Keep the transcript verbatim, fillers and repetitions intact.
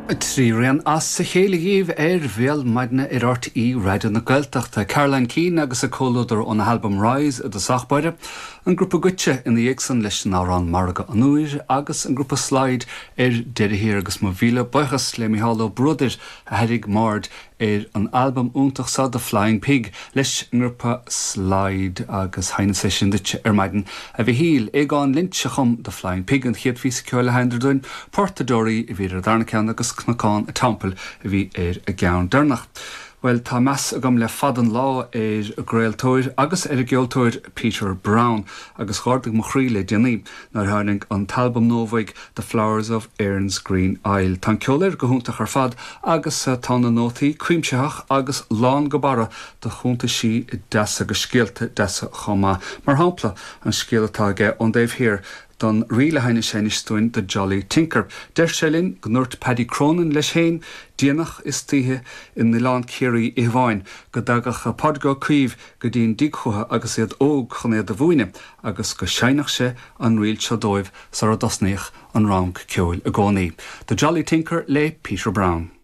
Trí rian as a chéile dhaoibh ar Bhéal Maidine ar R T É Raidió na Gaeltachta, Caroline Keane agus a comhluadar óna halbam Rise i dtosach báire, an grúpa Goitse ina dhiaidh san leis an amhrán Margadh an Iúir agus an grúpa Slide ar deireadh thiar. Agus mo mhíle buíochas le Micheál Ó Bruadair a tharraing m'aird ar an albam iontach seo, The Flying Pig, leis an ngrúpa Slide, agus sheinneas é sin duit ar maidin, a Mhichíl. Aogán Lynch a chum The Flying Pig, an chéad phíosa ceoil a sheinneadar dúinn, Port na Deoraí a bhí ar an darna ceann agus Cnocán an Teampaill a bhí ar an gceann deireanach. Well, tá meas agam le fada an lá ar an gcraoltóir agus ar an gceoltóir Peter Brown, agus d'ardaigh mo chroí le déanaí nuair a tháinig an t-albam nua uaidh, The Flowers of Erin's Green Isle. Tá an ceol air go hiontach ar fad agus tá na nótaí cuimsitheach agus lán go barra de chuntaisí deasa agus scéalta deasa chomh maith. Mar shampla, an scéal atá aige ón dtaobh thiar don ríl a sheinneas sé anois dúinn, The Jolly Tinker. Deir sé linn go ndúirt Paddy Cronin leis féin déanach istoíche in Oileán Ciarraí oíche amháin go dtagadh Pádraig Ó Caoimh go dtí'n dtigh chucu agus iad óg chun iad a mhúineadh agus go seinneadh sé an ríl seo dóibh sara dtosnaíodh an rang ceoil i gcónaí. The Jolly Tinker le Peter Brown.